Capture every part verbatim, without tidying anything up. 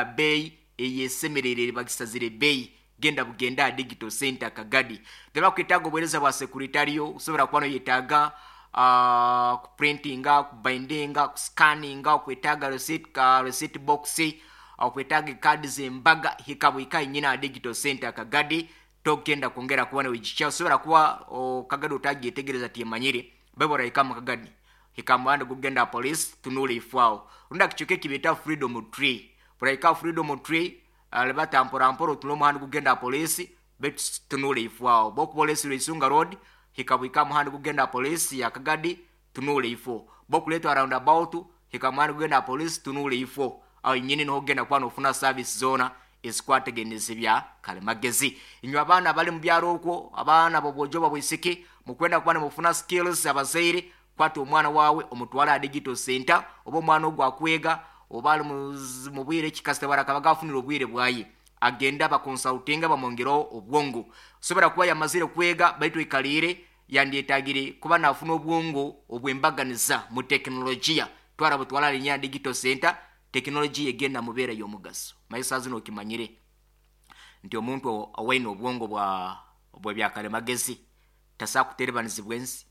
Beeyi eyesemerere, bagisazire beeyi. Genda bugenda aha Digital Center Kagadi. Tebakwetaaga obuheereza bwa secretarial, osobola kuba noyetaaga uh, kuprintinga, kubindinga, kuscanninga, okwetaaga receipt, ka receipt box, okwetaaga ekaadi z'embaga, hika bwika nyina aha Digital Center Kagadi. Togenda kwongera kuba newijikya. Osobola kuba o, Kagadi otagyetegereza, tyemanyire bebo rahika mu Kagadi, hika muhanda gugenda police, tunula ifwawo runda kichuke kibita Freedom Tree. Burahika Freedom Tree, alibata mpora mpora, otula omuhanda gugenda police, betu tunula ifwawo bokubolesi Isunga Road, hika bwika muhanda gugenda police ya Kagadi, tunula ifo bokuletwa roundabout, hika muhanda gugenda police, tunula ifo awo nyini niho ogenda kuba nofuna service zona ezikwategeneza bya kalimagezi. Inywe abaana bali mu byaro okwo, abaana bobwojo babwisiki, mukwenda kuba nimufuna skills, abazaire, kwata omwana wawe omutwale aha Digital Center. Oba omwana ogwo akwega, oba ali mu bwire ekikasita, barakaba gafunire obwire bwaye, agenda bakonsultinga, bamwongereho obwongo. Osobola kuba yamazire kwega, baitu ikaliire yandyetagire kuba nafuna obwongo obwembaganiza mu tekinologiya. Twara butwala linya Digital Center, tekinologiya egenda mubeera y'omugaso. Maisa zino okimanyire nti omuntu owaine obwongo bwa bw'ebyakalimagezi tasobola kuterebanizibwa ensi.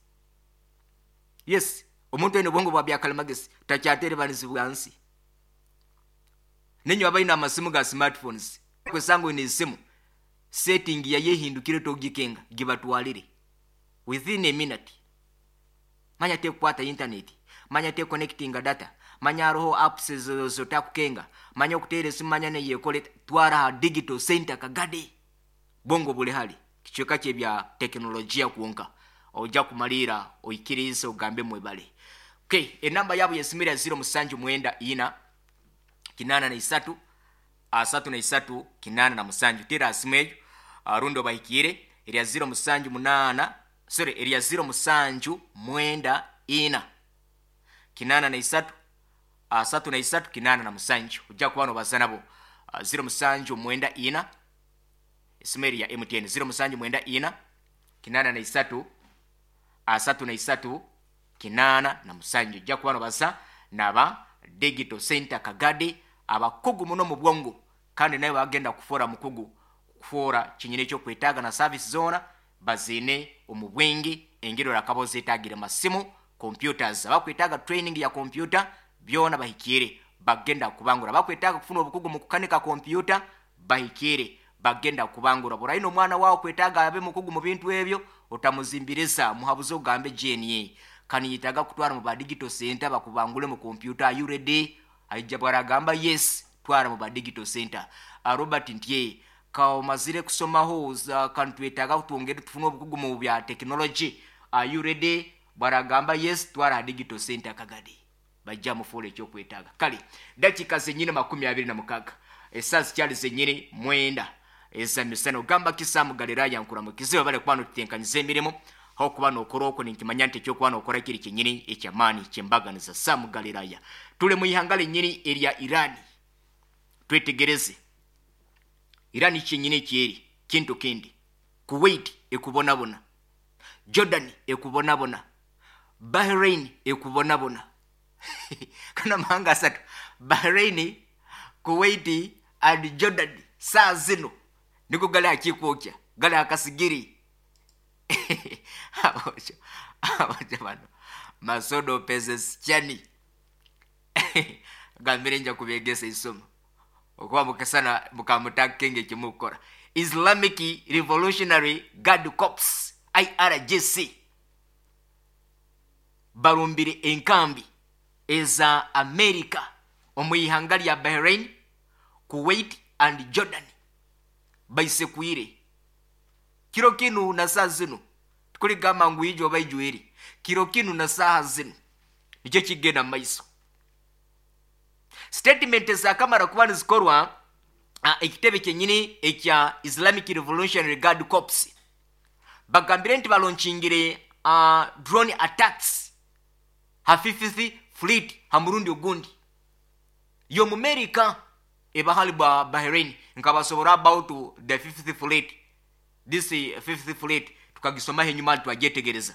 Yes, omuntu oine obwongo bwa byakalimagezi takyaterebanizibwa nsi. Nenyo abaine amasimu ga smartphones, kwesanga oine esimu setting yayehindukire, togikenga, gibatwalire within a minute. Manya tekukwata internet, manya te connecting data, manya hariho apps zotakukenga, manya okuteera esimu, manya neyekole. Twara aha Digital Center Kagadi. Bwongo buli hali kicweka kyebya tekinologiya kwonka ojja kumaliira oikirize ogambe mwebale. Okay, enamba yabo yesimira zero musanju mwenda ina kinana na isatu asatu na isatu kinana na musanju. Tera asimu eyo rundi obahikiire erya zero musanju munana, sorry, erya zero musanju mwenda ina kinana na isatu asatu na isatu kinana na musanju. Ojja kuba nobaza nabo. zero musanju mwenda ina, esimu eri ya M T N, zero musanju mwenda ina kinana na isatu asatu na isatu kinana na musanju. Ojja kuba nobaza naba Digital Center Kagadi, abakugu muno mu bwongo, kandi naye bagenda kufuura mukugu, kufuura kinyina ekyokwetaaga na service zona baziine omu bwingi. Engeri orakaba ozeetagire masimu, computers, abakwetaaga training ya computer, byona bahikiire, bagenda kubangura. Bakwetaaga kufuna obukugu mu kukanika computer, bahikiire, bagenda kubangura. Buraino omwana wawe kwetaaga abe mukugu mu bintu ebyo, otamuzimbiriza, muhabuze, ogambe jna kaniyitaga kutwara mu ba Digital Center bakubangule mu computer, are you ready? Aija bwaragamba yes, twara mu ba Digital Center. uh, robert ntye kaomazire kusomaho, kantwetaaga twongere tufune obukugu mu bya technology, are you ready? Bwaragamba yes, twara ha Digital Center Kagadi, bajja mufuula ekyokwetaaga. Kale dakiika zenyini makumi abiri na mukaga, esaa zikyali zenyini mwenda ezamisana. Ogamba kisaamu Galiraya, nkuramukize, bale kuba notutenkanyiza emirimu aho kuba nokora okwo. Ninkimanya nti ekyokuba nokora kiri kyenyini ekyamaani kyembaganiza. Saamu Galiraya, tuli mu ihanga lenyini erya Irani. Twetegereze Irani kyenyini ekyeri kintu kindi. Kuwait ekubonabona, Jordan ekubonabona, Bahrain ekubonabona. Kana mahanga asatu, Bahrain, Kuwait and Jordan, saa zino niko gali akikwokya, gali akasigiri. Abojo abojo bano masodo pezesichani gambire nja kubegesa isomo okuba mukasana mukamutakenge kimukora. Islamic Revolutionary Guard Corps, I R G C, barumbire enkambi eza America omu ihanga lya Bahrain, Kuwait and Jordan. Baisekuire kiro kinu na saa zino, tukuligamba ngu ijo oba ijweri, kiro kinu na saaha zino nikyo kigenda mumaiso. Statement zakamara kuba nizikorwa uh, ekitebe kyenyini ekya Islamic Revolutionary Guard Corps bagambire nti balonchingire uh, drone attacks ha Fifth Fleet ha murundi ogundi y'Omumerika ebahali bwa Bahrain. Nkabasobora about the Fifth Fleet. This uh, Fifth Fleet tukagisomaho enyuma, twagyetegereza.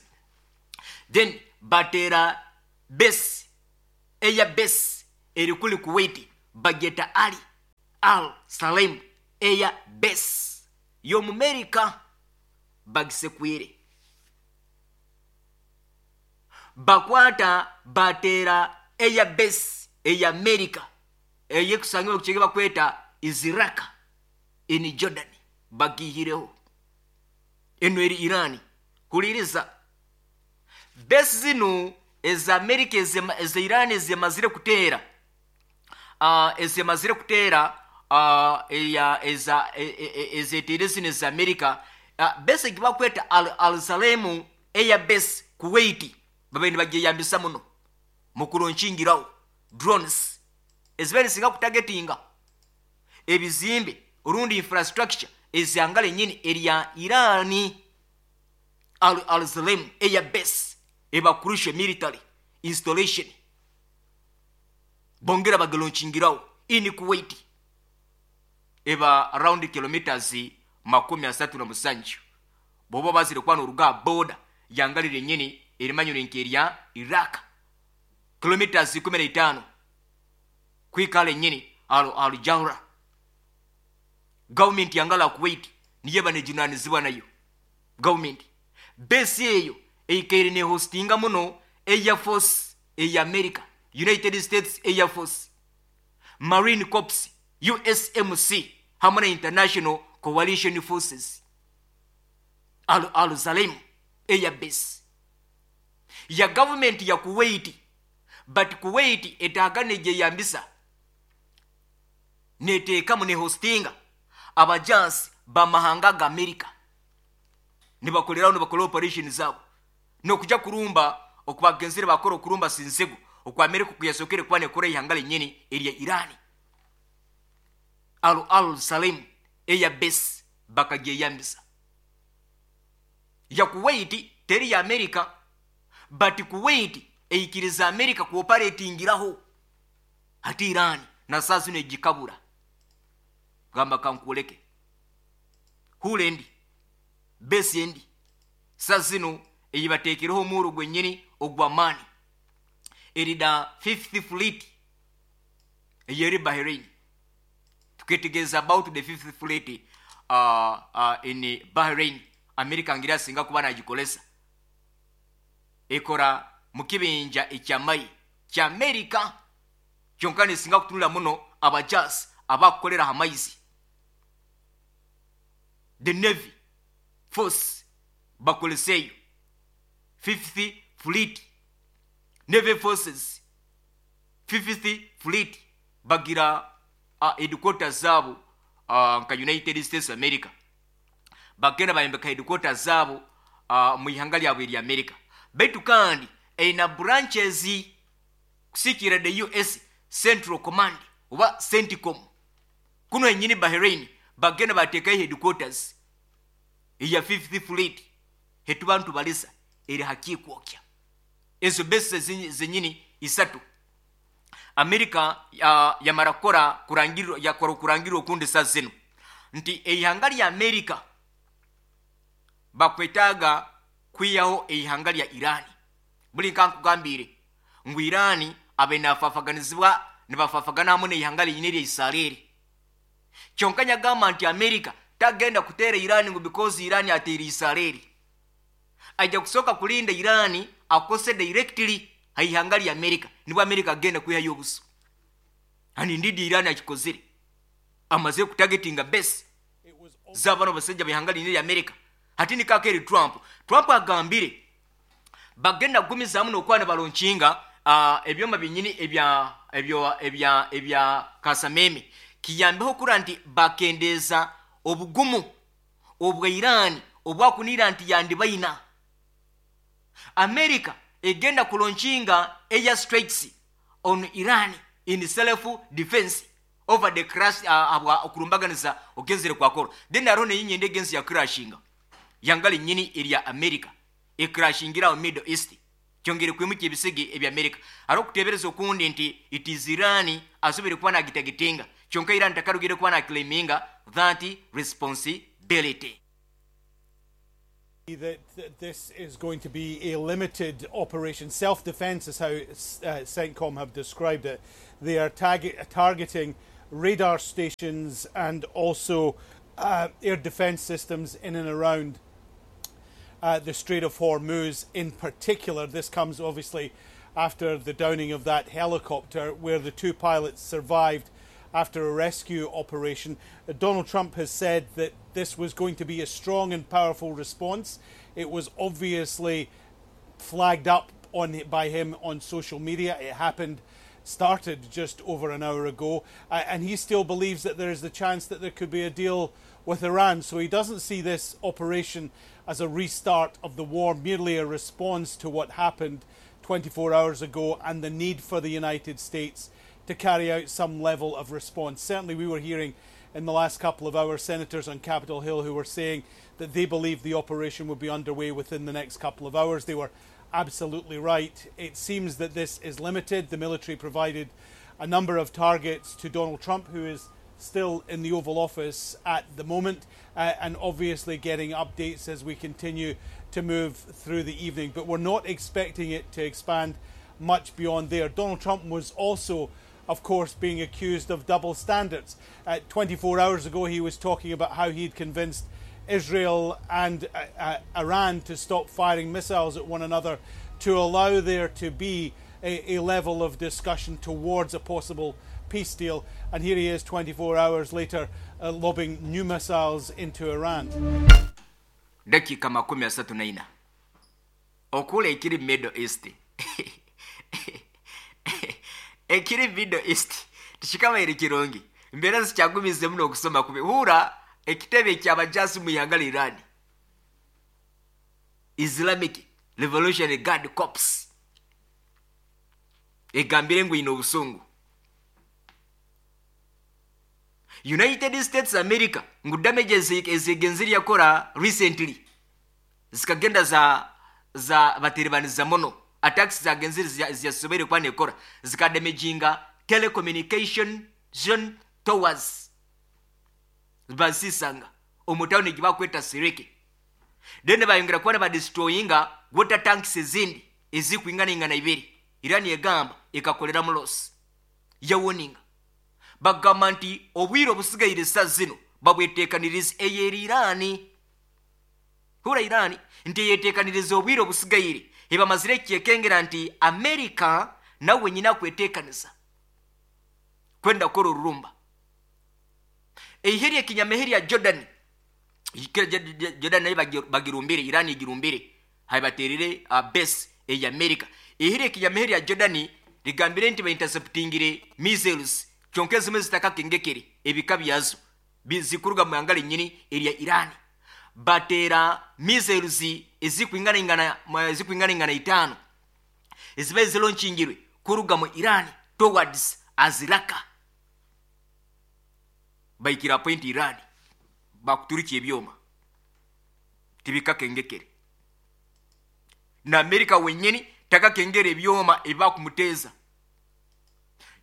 Then batera base, air base eri kuli Kuwait, bageta Ali. Al Salem Air Base y'Omumerika bagisekwire, bakwata bateera Air Base ey'Amerika eyekusangibwa kukyege bakweta Iziraka in Jordan, bagihireho. Eno eri Irani. Huliriza, base zinu eza Amerika eza Irani ezemazire kuteera uh, ezemazire kuteera uh, eya eza ezeteire zino eza Amerika, uh, base egibakweta Al, Al Salem Air Base Kuwait, babaire nibagyeyambisa muno mu kuronkingiraho drones ezibaire nizisinga kutagetinga ebizimbe orundi infrastructure ezihanga lenyini erya Irani. Al, Al Salem Air Base eba crucial military installation, bongera bagalonkingiraho in Kuwait, eba around kilometers makumi asatu na musanju boba bazire kuba noruga border yangalire nyini erimanyire nkerya Iraq, kilometers ikumi na itaano kwikala nyini al, Al Jawra. Government yangala Kuwait niye banejunanizibwa nayo government. Base eyo eikaire ne hostinga muno Air Force eya America, United States Air Force, Marine Corps, U S M C hamwe na International Coalition Forces. Al, Al Salem Air Base ya government ya Kuwait, but Kuwait etagane gyeyambisa neteekamu ne hostinga abajansi bamahanga ga America, nibakoleraho nibakola operation zaabo nokuja kurumba okubagenzere bakora okurumba sinzego okwa America kuyasokere kuba nekora ihanga lenyini erya Irani. Al, Al Salem Air Base bakagyeyambisa ya Kuwait teri ya America, but Kuwait eikiriza America kuoperatingiraho hati Irani na sasa negikabura gamba kankuleke hulendi base endi sazino eyibatekereho omuro gwenyini ogwamani erida fifth Fleet eyeri Bahrain. Tuketegeza about the fifth Fleet uh, uh, in Bahrain, America ngira singa kuba nagikolesa ekora mukibinja ekyamayi kya America kyonka nesinga kutunula muno abajas abakukolera hamaizi the Navy Force bakoleseyo fifth Fleet, Navy Forces fifth Fleet bagira uh, headquarters zabo uh, nka United States America, bagenda bayembeka headquarters zabo uh, mu ihanga lyabwe erya America. Baitu kandi eina branches kusikira the U S Central Command oba CENTCOM kuno enyini Bahrain bagenda bateekayo headquarters eya fifth Fleet hetubantu balisa eri hakikwokya ezo base zenyini isatu. America ya, yamara kukora kurangirwa yakora kurangirwa okundi sa zino nti eihanga lya America bakwetaaga kwiyaho eihanga lya Irani. Buli nkankugambire ngu Irani abe nafafaganizibwa nibafafagana hamwe n'eihanga linyini erya Israeli. Kyonka nyagamba nti America tagenda kuteera Irani ngu because Irani ateera Israeli, ajja kusooka kulinda Irani akose directly haihanga lya America, nibwo America agenda kwihayo obuso. And indeed Irani akikozire, amaze kutagetinga base z'abano basajja b'ihanga linyini erya America. Hati nikakeri Trump, Trump agambire bagenda kugumizaamu n'okuba nibalonkinga uh, ebyoma binyini ebya ebyo ebya ebya kasameme kiyambeho kura nti bakendeeza obugumu obwa Irani obwakunira nti yandibaina. America egenda kulonkinga air strikes on Iran in self defense over the crash uh, abwa okurumbaganiza ogenzere kwakora. Then arone yinyende egenzi ya crashinga yangali nyini erya America ekrashingira mu Middle East kyongere kwimuka ebisege ebya America. Aro kutebereza okundi nti it is Iran asobere kuba nagitagetinga kyonka Iran takarugire kuba na claiminga that responsibility. That this is going to be a limited operation. Self-defense is how uh, CENTCOM have described it. They are target, targeting radar stations and also uh, air defense systems in and around uh, the Strait of Hormuz in particular. This comes obviously after the downing of that helicopter where the two pilots survived after a rescue operation. Uh, Donald Trump has said that this was going to be a strong and powerful response. It was obviously flagged up on by him on social media. It happened, started just over an hour ago, uh, and he still believes that there is the chance that there could be a deal with Iran. So he doesn't see this operation as a restart of the war, merely a response to what happened twenty-four hours ago and the need for the United States to carry out some level of response. Certainly we were hearing in the last couple of hours senators on Capitol Hill who were saying that they believed the operation would be underway within the next couple of hours. They were absolutely right. It seems that this is limited. The military provided a number of targets to Donald Trump, who is still in the Oval Office at the moment, uh, and obviously getting updates as we continue to move through the evening. But we're not expecting it to expand much beyond there. Donald Trump was also, of course, being accused of double standards. Uh, twenty-four hours ago, he was talking about how he'd convinced Israel and uh, uh, Iran to stop firing missiles at one another to allow there to be a, a level of discussion towards a possible peace deal. And here he is twenty-four hours later, uh, lobbing new missiles into Iran. Dakika makumi asatu na ina okula ekiri Middle East, ekiri Middle East tikikabaire kirungi, embeera zikyagumizemu n'okusoma kubi. Huura ekitebe ekyabajasi mu ihanga lya Iran, Islamic Revolutionary Guard Corps, egambire ngu ine obusungu. United States America ngu damages ezigenzire yakora recently zikagenda za za bateribaniza muno, attacks zagenzire ziyasobere kuba nekora zikadamaginga telecommunication towers basisanga omutawuni gibakweta Sireke. Then bayongera kuba badestroyinga water tanks ezindi ezikwingana ibiri. Iran egamba ekakolera mu loss yawoninga, bagamba nti obwire obusigaire sa zino babweteekaniriza eyeri Irani. Hura Irani nti yeteekaniriza obwire obusigaire, ebamazire kyekengera nti America nawe nyina kweteekaniza kwenda kukora orurumba. Eiheri ekinyameheri ya Jordan, Jordan nayo bagirumbire, Irani igirumbire, habaterire uh, base eya America. Eheri ekinyameheri ya Jordan ligambire nti bainterceptingire missiles kyonka ezimwe zitakakengekere ebika byazo bizikuruga mu ihanga linyini erya Iran. Batera missiles ezikwingana ezikwingana itaano eziba zilonchingirwe kuruga mu Iran towards Aziraka, baikira point Iran bakuturiki ebyoma tibikakengekere. Na America wenyini takakengere ebyoma ebakumuteza.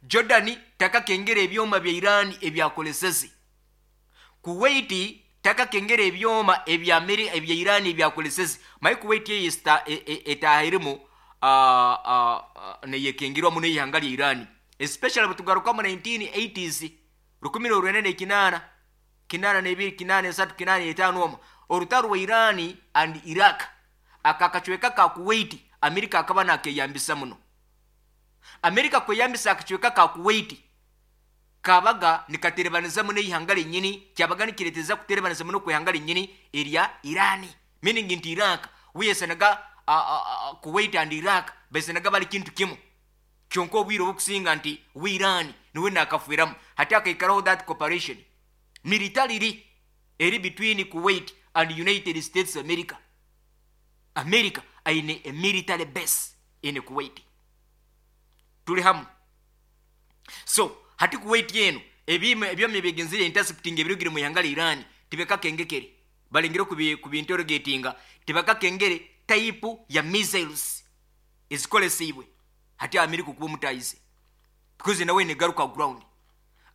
Jordan takakengera ebyoma bya Iran ebyakoleseze. Kuwait takakengera ebyoma ebya America ebya Iran ebyakoleseze. Mai Kuwait yesta etahirimu a a neyekengirwa muno ihanga lya Iran, especially batugaruka mu nineteen eighties rukumi rwene kinana kinana nebiri kinana esatu kinana etano omo orutaro wa Iran and Iraq akakachweka ka Kuwait America akaba nakeyambisa muno. America kweyambisa akachweka ka Kuwait kabaga nikaterebaniza muno ihanga linyini, kyabaga nikireteza kuterebaniza muno kwihanga linyini erya Iran, meaning nti Iraq wiyesanaga Kuwait and Iraq besanaga bali kintu kimu kyonka obwire obukusinga nti we Iran niwe nakafuiramu hati akaikaraho that cooperation militarily eri between Kuwait and United States America. America aine a military base in Kuwait. Tuli hamu. So hati Kuwait yenu ebime ebyomye bigenzire intercepting ebirugire mu ihanga lya Iran tibekakengekere balingire kubi kubinterrogatinga tibakakengere type ya missiles ezikolesibwe hati America kuba mutayize because nawe negaruka ground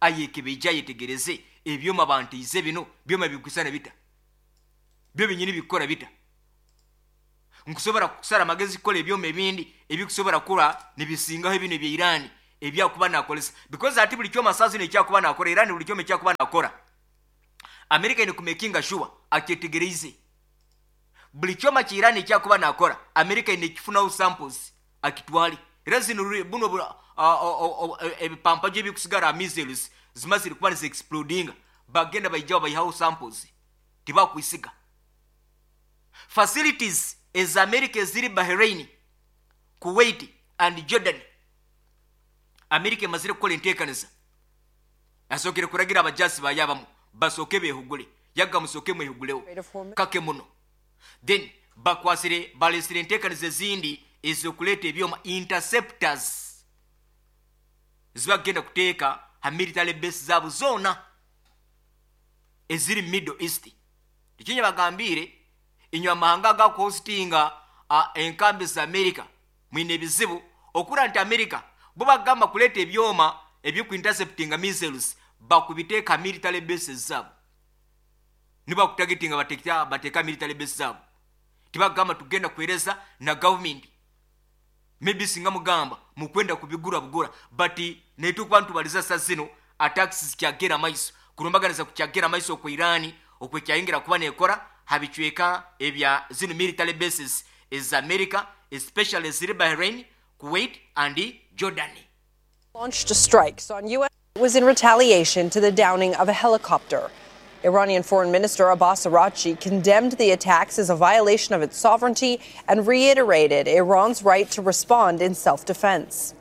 ayekebejja yetegereze ebyoma bantize bino byoma bikusana bita byo binyini bikora bita nkusobora kusara magezi kola ebyoma ebindi ebikusobora kula nibisingaho ebino bya Iran Ebyakuba nakolesa, because ati buli kyoma sasa ekyakuba nakora Iran, buli kyoma ekyakuba nakora America ine kumakinga sure akyetegereize. Buli kyoma kya Iran ekyakuba nakora, America ine kifunaho samples akitwale. Era zino buno ebipampa gye bikusigara, missiles zimazire kuba nizi explodinga, bagenda baijaho bayihaho samples, tibakwisiga. Facilities eza America eziri Bahrain, Kuwait and Jordan, America emazire kukola enteekaniza. Asookere kuragira abajasi bayabamu basooke beehugule, yaga musooke mwehuguleho kake muno, then bakwasire balesire enteekaniza ezindi ez'okuleeta ebyoma interceptors zibagenda kuteeka ha military base zaabo zoona eziri Middle East. Ekinya bagambire inywe amahanga agakuhostinga enkambi za America mwine ebizibu, okura nti America bo bagamba kuleeta ebyoma ebyokuinterceptinga missiles bakubiteeka military bases zaabo, nibakutagetinga bateeka bateeka military base zaabo. Tibagamba tugenda kuhereza na government, maybe singa mugamba mukwenda kubigura bugura, but netukuba ntubaliza sa zino attacks zikyagera maiso, kulumbaganiza kukyagera maiso ku Iran okwekyayingira kuba nekora habicweka ebya zino military bases eza America, especially ziri Bahrain, Kuwait and Jordan. Launched strikes on U S was in retaliation to the downing of a helicopter. Iranian Foreign Minister Abbas Araghchi condemned the attacks as a violation of its sovereignty and reiterated Iran's right to respond in self-defense.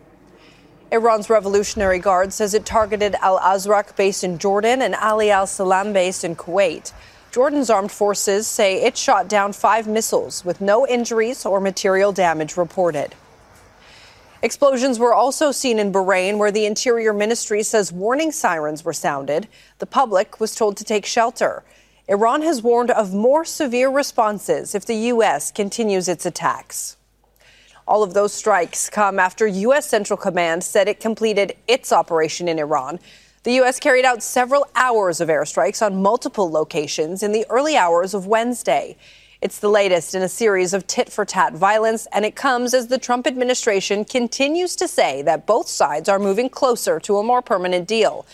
Iran's Revolutionary Guard says it targeted Al-Azraq base in Jordan and Ali al-Salam base in Kuwait. Jordan's armed forces say it shot down five missiles with no injuries or material damage reported. Explosions were also seen in Bahrain, where the Interior Ministry says warning sirens were sounded. The public was told to take shelter. Iran has warned of more severe responses if the U S continues its attacks. All of those strikes come after U S Central Command said it completed its operation in Iran. The U S carried out several hours of airstrikes on multiple locations in the early hours of Wednesday. It's the latest in a series of tit-for-tat violence, and it comes as the Trump administration continues to say that both sides are moving closer to a more permanent deal.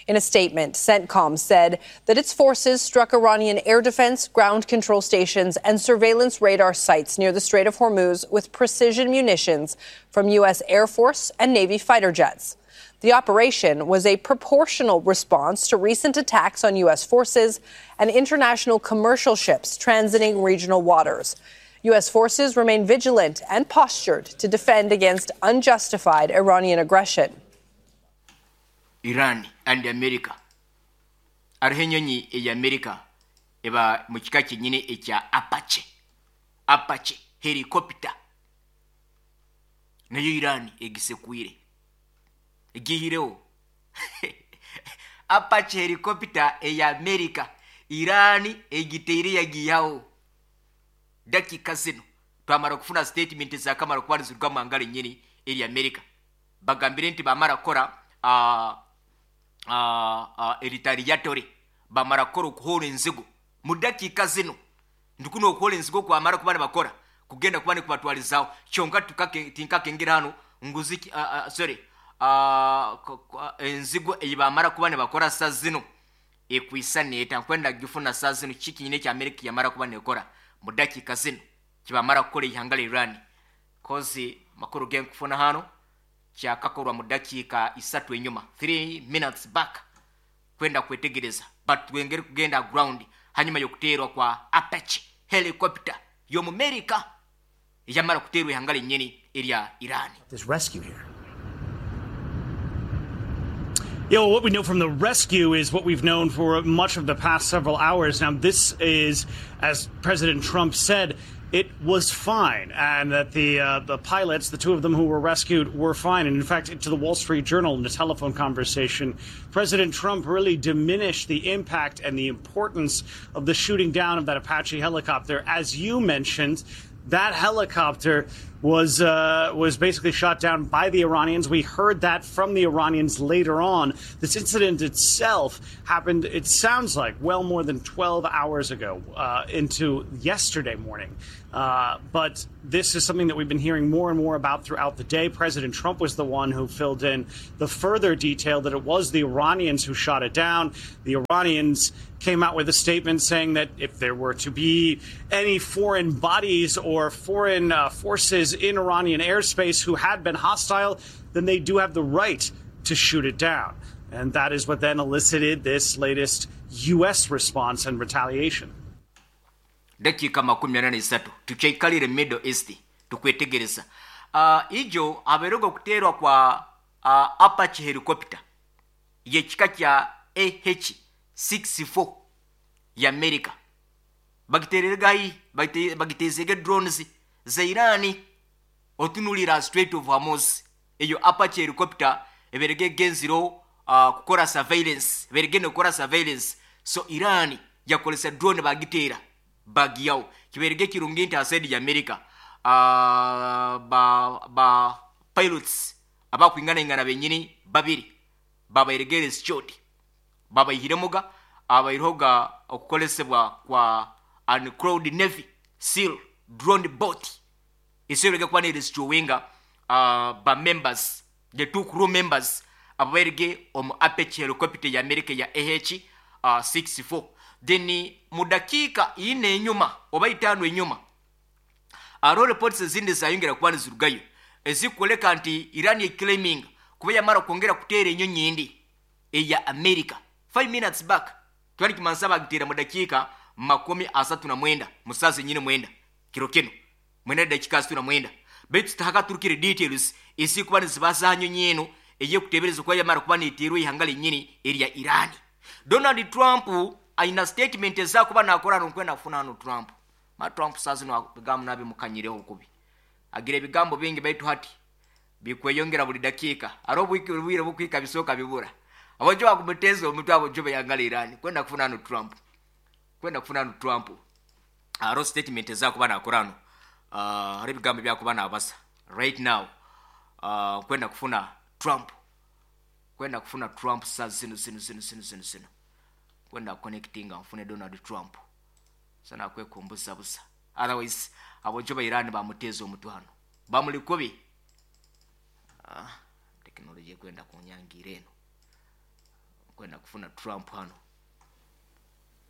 In a statement, CENTCOM said that its forces struck Iranian air defense, ground control stations, and surveillance radar sites near the Strait of Hormuz with precision munitions from U S Air Force and Navy fighter jets. The operation was a proportional response to recent attacks on U S forces and international commercial ships transiting regional waters. U S forces remain vigilant and postured to defend against unjustified Iranian aggression. Iran and America. Hariho enyonyi eya America eba mu kika kyenyini ekya Apache. Apache helicopter. Nayo Iran egisekwire. Egihireho. Apache helicopter eya America Iran egiteire yagihaho. Dakika zino twamara kufuna statement za kamara kuba nizirwa mu ngalo nyini eri America. Bagambire nti bamara kora Uh, uh, uh, retaliatory bamara kukora okuhoora enzigo mu dakiika zino ndikuno okuhoora enzigo kwamara kuba nibakora kugenda kuba nikubatwarizaho kyonka tinkakengera hano nguzi uh, uh, sorry uh, enzigo ei bamara kuba nibakora sa zino ekwisa neeta nkwenda gifuna sa zino kikinyine ekya Amerika yamara kuba nekora mu dakiika zino kibamara kukora eihanga lya Iran kozi makuru genkufuna hano kyakakorwa mu dakiika isatu enyuma, three minutes back, kwenda kwetegereza but twengere kugenda ground hanyuma y'okuteerwa kwa Apache helicopter y'omu America eyamara kuteerwa ihanga lyennyini erya Iran. This rescue here. Yeah, well, what we know from the rescue is what we've known for much of the past several hours. Now, this is, as President Trump said, it was fine, and that the uh, the pilots, the two of them who were rescued, were fine. And in fact, to the Wall Street Journal in a telephone conversation, President Trump really diminished the impact and the importance of the shooting down of that Apache helicopter. As you mentioned, that helicopter was uh, was basically shot down by the Iranians. We heard that from the Iranians later on. This incident itself happened, it sounds like, well more than twelve hours ago, uh, into yesterday morning. Uh, but this is something that we've been hearing more and more about throughout the day. President Trump was the one who filled in the further detail that it was the Iranians who shot it down. The Iranians came out with a statement saying that if there were to be any foreign bodies or foreign uh, forces in Iranian airspace who had been hostile, then they do have the right to shoot it down. And that is what then elicited this latest U S response and retaliation. Dakika makumi ana n'isatu tukyaikalire Middle East tukwetegereza. Uh, ijo aberogo kuterwa kwa uh, Apache helicopter yekika kya A H sixty-four ya America bagitererega bagitezege drones za Irani otunulira Strait of Hormuz. Eyo Apache helicopter eberege genziro uh, kukora surveillance, eberege nokora surveillance. So Irani yakolesa drone bagitera bagiyao kiberege kirungi nti asedi ya America uh, ba, ba pilots abakwingana ingana benyini babiri babayiregere shot babayihiremuga abayiroga okukolesebwa kwa uncrowd Navy SEAL drone boat iserege kwa ne destroyinga uh, ba members the two crew members ababerege omu Apache helicopter ya America ya A H sixty-four. Then mudakika ine enyuma oba itaano enyuma aro reports ezindi zayongera kuba nizirugayo ezikoleka nti Iran claiming kuba yamara kwongera kuteera enyonyi indi eya America five minutes back twali kimansaba gitera mudakika makumi asatu na mwenda musazi nyine mwenda kiro kino mwenda dakika asatu na mwenda betu tutaka turukire details isi kuba nizibaza nyonyi eno eye kutebereza kuba yamara kuba niterwe ihangale nyini erya Iran. Donald Trump aina statement za kuba nakora nkwenda kufuna no Trump. Ma Trump sazi no bigambo nabi mukanyireho kubi. Agire bigambo bingi baitu hati bikweyongera buli dakika. Aro bwire bukwika bisoka bibura. Abojo bakumuteza omuntu abo jobe yangala Iran kwenda kufuna no Trump. Kwenda kufuna no Trump. Aro statement za kuba nakora no. Uh, ari bigambo bya kuba nabasa right now. Uh, kwenda kufuna Trump. Kwenda kufuna Trump sazi zino zino zino zino zino zino. Kwenda connecting amfune Donald Trump sana kwekumbuza busa. Otherwise abojo ba Iran bamuteza omuntu hano bamuli kubi. Ah, technology kwenda kunyangira eno kwenda kufuna Trump hano.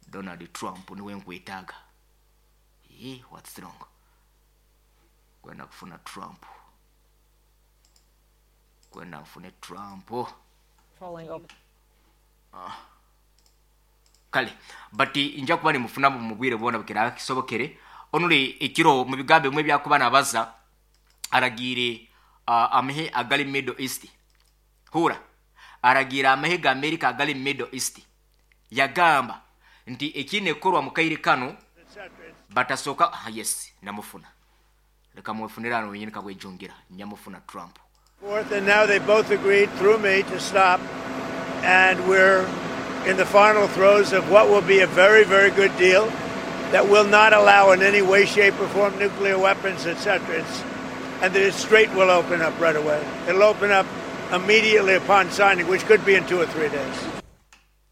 Donald Trump niwe nkwetaga. Eh, what's wrong? Kwenda kufuna Trump. Kwenda mfune Trump. Trolling open. Ah. Kale but inja kuba ni mufuna mu mubwire bona bukira kisobokere onuli ekiro mu bigambe mwe byakuba nabaza aragire uh, amehe agali Middle East hura aragira amehe ga America agali Middle East yagamba nti ekine korwa mu kaire kano batasoka. Ah, yes namufuna leka mufunira no wenyine kabwejongera nyamufuna Trump. Fourth, and now they both agreed through me to stop, and we're in the final throes of what will be a very, very good deal that will not allow in any way, shape, or form nuclear weapons, et cetera. It's, and the strait will open up right away. It'll open up immediately upon signing, which could be in two or three days.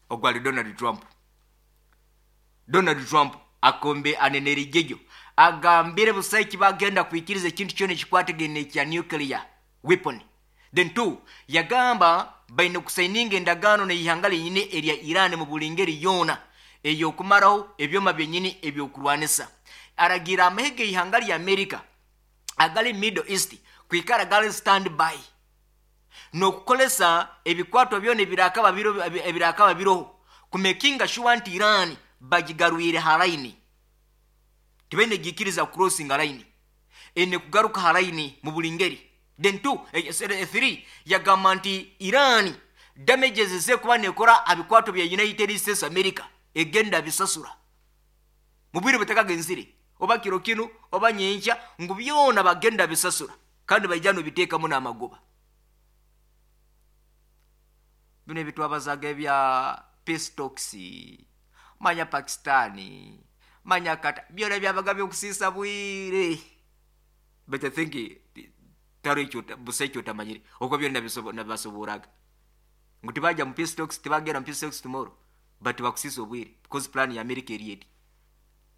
Ogwali Donald Trump. Donald Trump akombe anenerijejo agambire busaiki bagenda kuikiriza ekintu kyona ekikwatagene kya nuclear weapon. Then two, yagamba baine kusaininga endagaano n'eihanga linyine erya Iran mu buli ngeri yona ey'okumaraho ebyoma byenyini ebyokurwanisa. Aragira amahege ihanga lya America agali Middle East kwikara gali stand by n'okukolesa ebikwato byona ebirakaba biro ebirakaba biroho kumekinga sure nti Iran bagigarwire halaini tibene gikiriza crossing line ene kugaruka halaini mu buli ngeri. Then two, eh, three, yagamba nti Iran damages ze kuba nekora abikwato bya United States America egenda bisasura mubiri butaka genzire oba kiro kino oba nyencha ngu byona bagenda bisasura kandi bayijano bitekamu n'amagoba. Bino ebitwabazaga ebya peace talks manya Pakistani manya kata byona byabaga byokusisa bwire. But I think taro ekyo busa ekyo otamanyire okwo byona nabibasoboraga ngu tibajja mu peace talks, tibagenda mu peace talks tomorrow, but bakusisa obwire because plan ya America eri eti.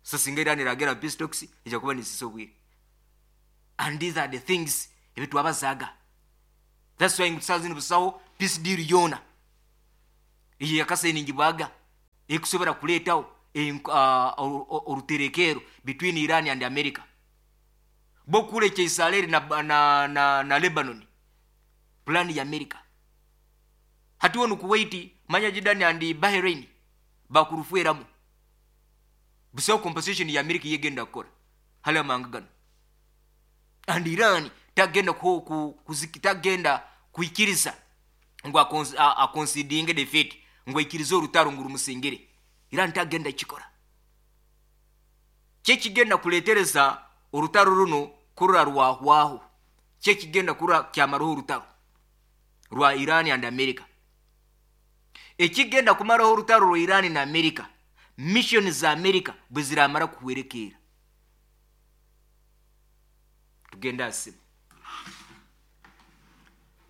So singa Iran eragenda mu peace talks, ejja kuba nesisa obwire. And these are the things ebitwabazaaga. That's why ngu tusaawa zinu busaho peace deal yoona eyo yakasainingibwaga ekusobora kuleetawo oruterekero between Iran and America. Bokulekya Israeli na, na, na, na Lebanon, plan ya America. Hati wonu Kuwait, manya Jordan and Bahrain bakurufueramu. Busaho compensation ya America yegenda kukora hali amanga gano. And Iran tagenda ku, ku, kuziki, tagenda kuikiriza ngu aconsidinge defeat, ngu aikirize orutaro ngu rumusingire. Iran tagenda kikora. Kyekigenda kuletereza orutaro runo kurura rwahwaho. Kyekigenda kurura kyamaraho orutaro rwa Iran and America. Ekigenda kumaraho orutaro rwa Iran na America, mission za America bwe ziramara kuhwerekeera. Tugenda asimu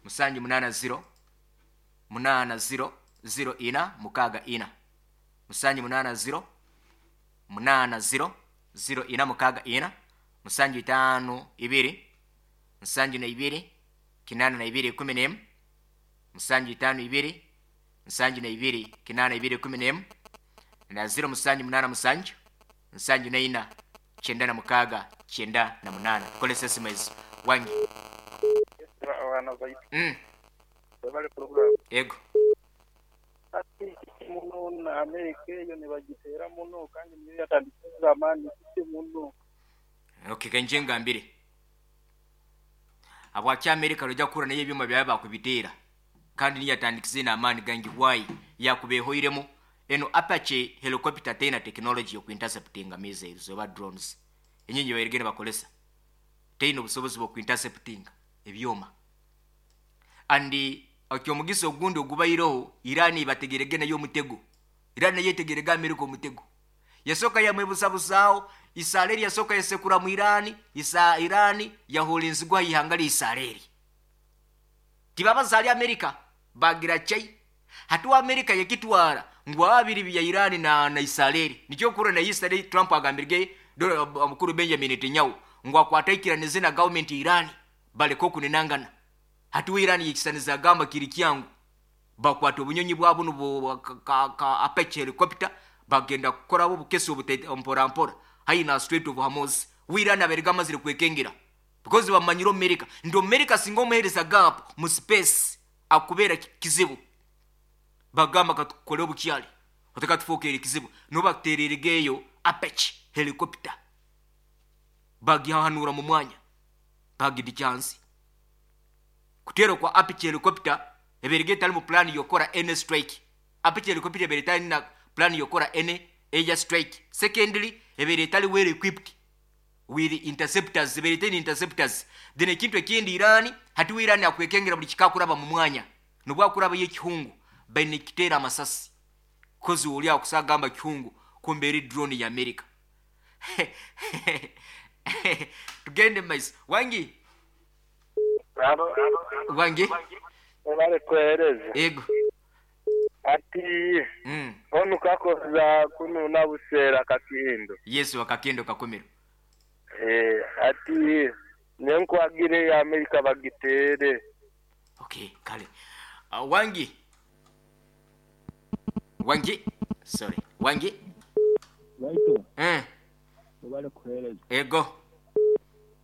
musanju munana zero munana zero zero ina mukaga ina, musanju munana zero munana zero zero ina mukaga ina, musanju itano ibiri nsanju na ibiri kinana na ibiri kumi n'emu, musanju itano ibiri nsanju na ibiri kinana ibiri kumi n'emu, na zero musanju munana musanju nsanju na ina kyenda na mukaga kyenda na munana. Tukolese esimu ezo wangi. Mm. Ego. Ati muno na Amerika eyo nibagitera muno kandi niyo yatandikira amani muno. Okay, kenje ngambire. Abwaki Amerika rojja kura naye ebyuma byawe bakubiteera kandi niyo yatandikise n'amaani gangi why yakubehoiremu eno Apache helicopter tena technology yokuinterceptinga missiles oba drones. Enyinyi bayirigenda bakolesa teina obusobozi bw'okuinterceptinga ebyuma. And okyomugisa ogundi ogubaireho Iran bategerege nayo omutego. Iran nayo etegerege Amerika omutego. Yasooka yamwebusabusaawo Israeli yasooka yasekura mu Iran, isa Iran yaholinzigwa ihanga lya Israeli. Tibabazaali Amerika bagira chai. Hatuwa Amerika yekitwara ngu ababiri bya Iran na na Israeli. Nikyo kura na Israeli Trump agambirge omukuru Benjamin Netanyahu ngu akwataikiranize na government Iran baleko kunenangana. Hatuwa Iran yekisaniza agamba kiri kyangu bakwata obunyonyi bwabo nubo ka, ka Apache helicopter bagenda kukora bo bukesi obute mpora mpora haina Strait of Hormuz. Iran aberega amazire kwekengera because bamanyiro America ndo America singa omuhereza gap mu space akubera kizibu. Bagamba katukole obukyali oteka tufookere kizibu no baktereregeyo Apache helicopter bagihanura mu mwanya bagidi chance kutero kwa Apache helicopter eberege tali mu plan yokora any strike. Apache helicopter ebere tali na plan yokora any air strike. Secondly, ebere tali well equipped with interceptors, ebere tali interceptors. Then ekintu ekindi Iran hati Iran akwekengera buli kikakuraba mu mwanya nobwakuraba yekihungu baine kitera amasasi kozi oli akusagamba kihungu kumbere drone ya America. Tugende mais wangi wangi obale kwereza ego ati mm. Onu kakoza kuno nabusera kakindo Yesu akakindo kakomero eh ati nenkwagire ya Amerika bagitere. Okay, kale uh, wangi wangi sorry wangi waito eh obale kwereza ego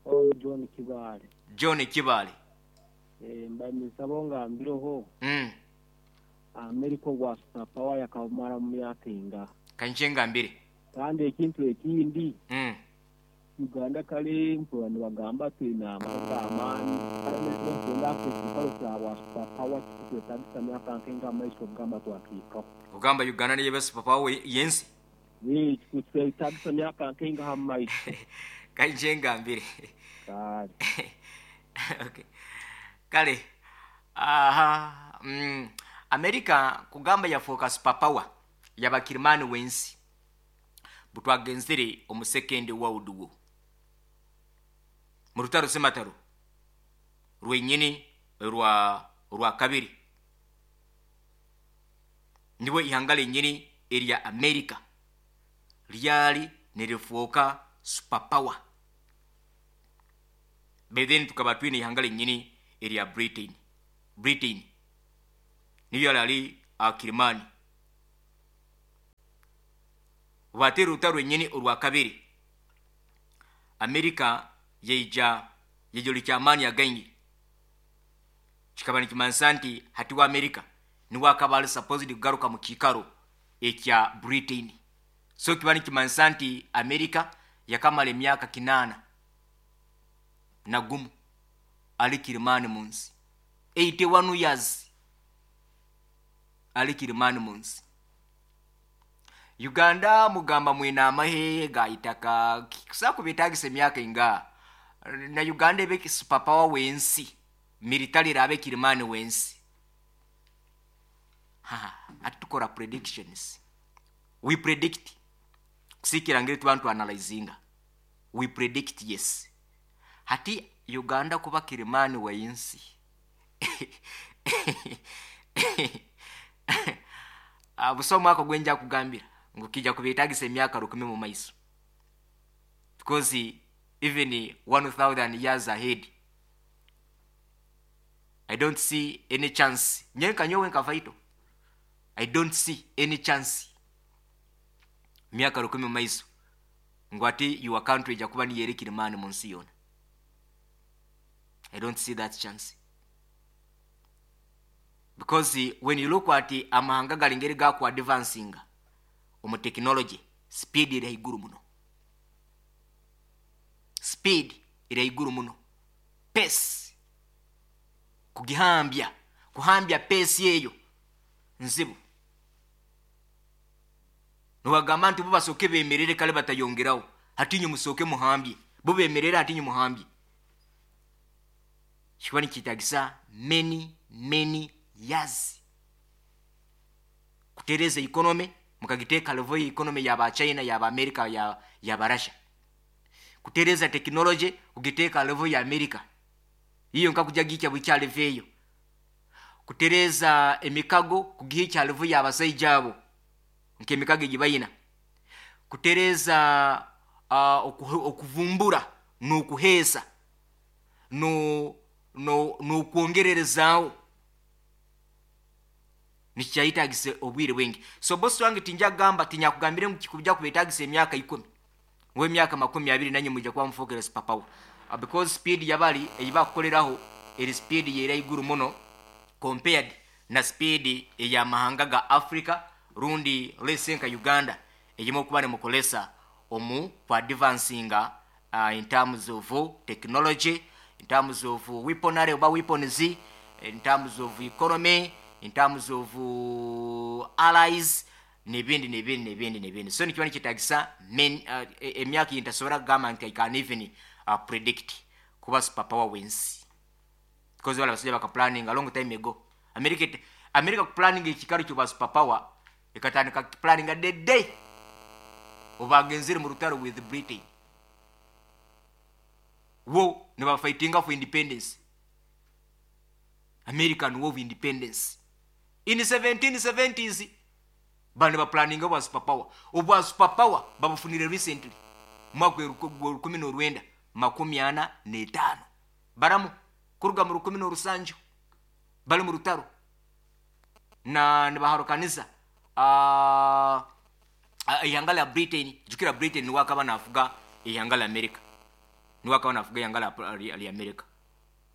on John Kibale John Kibale eh mbanyisabo ngambiroho mm Amerika wa superpower yakamara mu myaka inga kanje ngambire kandi ekintu ekindi mm Uganda kale mpurani bagamba twina amani kandi Afrika wa superpower twetagisa myaka nkenga amaiso kugamba twakika kugamba Uganda niye superpower yensi ni twetagisa myaka nkenga amaiso kanje ngambire kale okay kale aha mm Amerika kugamba yafoka superpower yabakirimani wensi butwagenzere omu second world war. Mu rutaro semataro rwenyini rwa rwa kabiri nibwo ihanga lenyini erya America ryali nirifuuka superpower. By then tukaba twine ihanga lenyini erya Britain. Britain niyo yali akirimani. Batera urutaro rwenyini urwa kabiri, America yeija yejoli amaani againgi. Kikaba nikimanisa nti hati wa America niwe akaba ali supposed kugaruka mu kiikaro ekya Britain. So kiba nikimanisa nti America yakamala emyaka kinaana na gumu ali kirimani munsi, eighty-one years ali kirimani munsi. Uganda mugamba mwina amahe gaitaka kusakubetagisa emyaka inga na Uganda ebe superpower wensi military rabe kirimani wensi. Ha, atukora predictions. We predict. Kusikira ngiri tubantu analyzinga. We predict, yes. Hati Uganda kuba kirimani wensi. Abusomo ako gwenja kugambira ngukija kubetagisa emyaka rukumi mu maiso. Because even one thousand years ahead, I don't see any chance. Nyenka nyowe nka I don't see any chance. Miaka rukumi mu maiso ngwati your country ija kuba ni yerekire mani mu nsi yona. I don't see that chance. Because when you look at amahanga galingeri ga ku advancing omu technology, speed iri haiguru muno. Speed iri haiguru muno. Pace kugihambya, kuhambya pace yeyo nzibu. Niwagamba nti bo basooke beemerere kale batayongerawo, hatinye musooke muhambye, bo beemerere hatinye muhambye. Kiba nikitagisa many many years kutereza economy, mukagiteeka level ya economy yaba China, yaba America, ya yaba Russia. Kutereza technology kugiteeka level ya America iyo nkakuja gikya bukya level eyo. Kutereza emikago kugiha level y'abasajja abo nk'emikago egibayina. Kutereza uh, okuvumbura n'okuheesa no no n'okwongererezaawo nikyayitagise obwire bwingi. So boss wange tinja gamba tinyakugambire ngu kikujja kubetagisa emyaka ikumi ngo emyaka makumi abiri nanye mujja kuba mufokera superpower. Uh, because speed yabali eyiba kukoleraho eri speed yera iguru muno compared na speed eya mahanga ga Africa rundi lesenka Uganda eyimo kuba ne mukolesa omu kwa advancing uh, in terms of technology, in terms of weaponry oba weapons, in terms of economy, in terms of uh, allies nebindi nebindi nebindi nebindi. So nikiba nikitagisa men uh, emyaka intasobora kugamba nti I can even uh, predict kuba superpower wins because wala basajja baka planning a long time ago. America America planning ekikaro kyo superpower ekatandika planning a the day obagenzere mu rutaro with Britain wo ne ba fighting for independence, American War of Independence in the seventeen seventies. Bano ba planning wa superpower obwa superpower babufunire recently mwaka rukumi n'orwenda makumi ana n'etaano baramu kuruga mu rukumi n'orusanju bali mu rutaro na nibaharukaniza uh, ihanga lya Britain. Jukira Britain niwe akaba nafuga ihanga lya America, niwe akaba nafuga ihanga lya America.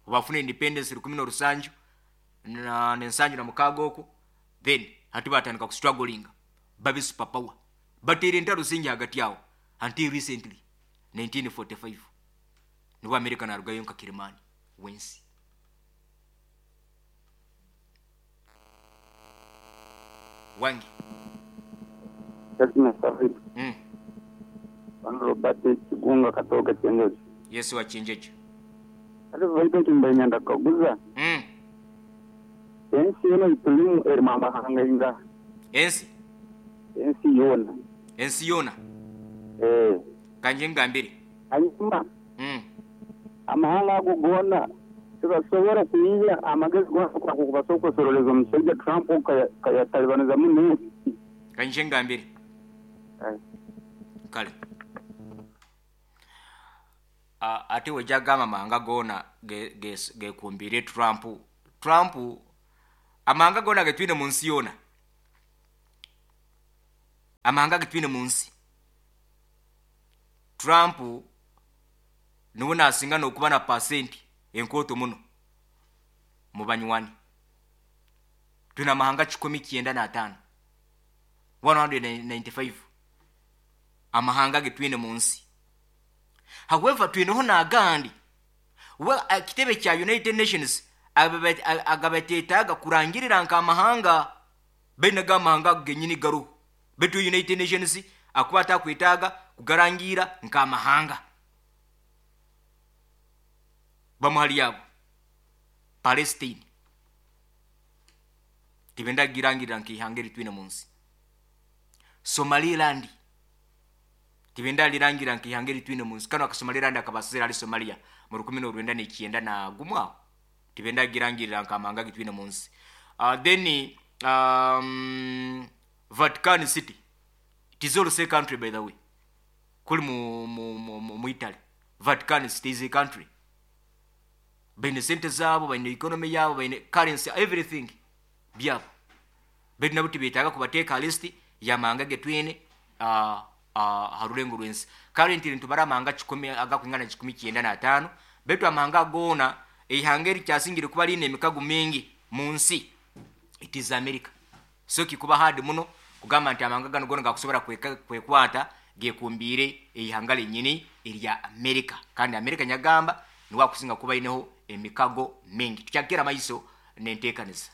Bafuna independence rukumi n'orusanju na n'ensanju na mukaaga okwo, then hati batandika kustruggling babe superpower bateera entalo zingi hagati awo until recently nineteen forty-five niwe America narugayo nka kirimani wensi. Wangi mm. Robert Kigunga katoka Chenjeje. Yesu wa Chenjeje. Ate vaito kimbanyanda kaguza. Mm. Ensi yona itulimu eri mamahanga inga. Ensi? Ensi yona. Ensi yona? Eh. Kanje ngambire. Hanyuma. Mm. Amahanga ago goona tibasobora kwiha amagezi goona kubasobola kusoroleza omushaija Trump kayatalibaniza muno ensi. Kanyije ngambire. Kale ate wejagamba amahanga goona gekumbire Trump. Trump amahanga goona getwine mu nsi yoona, amahanga getwine mu nsi, Trump niwe nasinga n'okuba na pasenti enkooto muno mu banywani. Twine amahanga kikumi kyenda n'ataano, one hundred ninety five amahanga getwine mu nsi. However, twineho n'agandi we ekitebe kya United Nations agabateetaaga kurangirira nk'amahanga, baine g'amahanga genyini garuho, baitu United Nations akuba atakwetaaga kugarangira nk'amahanga. Bamuhali yabo Palestine tibenda girangirira nk'ihanga eritwine mu nsi. Somaliland tibenda lirangira nk'ihanga eritwine mu nsi. Kano akasomaliland akabasizira ali Somalia mu rukumi n'orwenda n'ikyenda na gumwe aho, tibenda girangirira nk'amahanga gitwine mu nsi. Uh, then um, Vatican City, it is also a country by the way, kuli mu, mu, mu, mu, mu Italy. Vatican City is a country. Baine sente zaabo, baine economy yaabo, baine currency, everything byabo, baitu nabo tibetaaga kubateeka list y'amahanga getwine uh, uh, ha rurengo rw'ensi. Currently nitubara amahanga kikumi agakwingana kikumi kyenda n'ataano, baitu amahanga goona eihanga erikyasingire kuba riine emikago mingi mu nsi, it is America. So kikuba hard muno kugamba nti amahanga gano goona gakusobora kwekwata gekumbiire eihanga lyenyini erya America. Kandi America nyagamba niwe akusinga kuba aineho emikago mingi. Tukyakira maiso n'enteekaniza.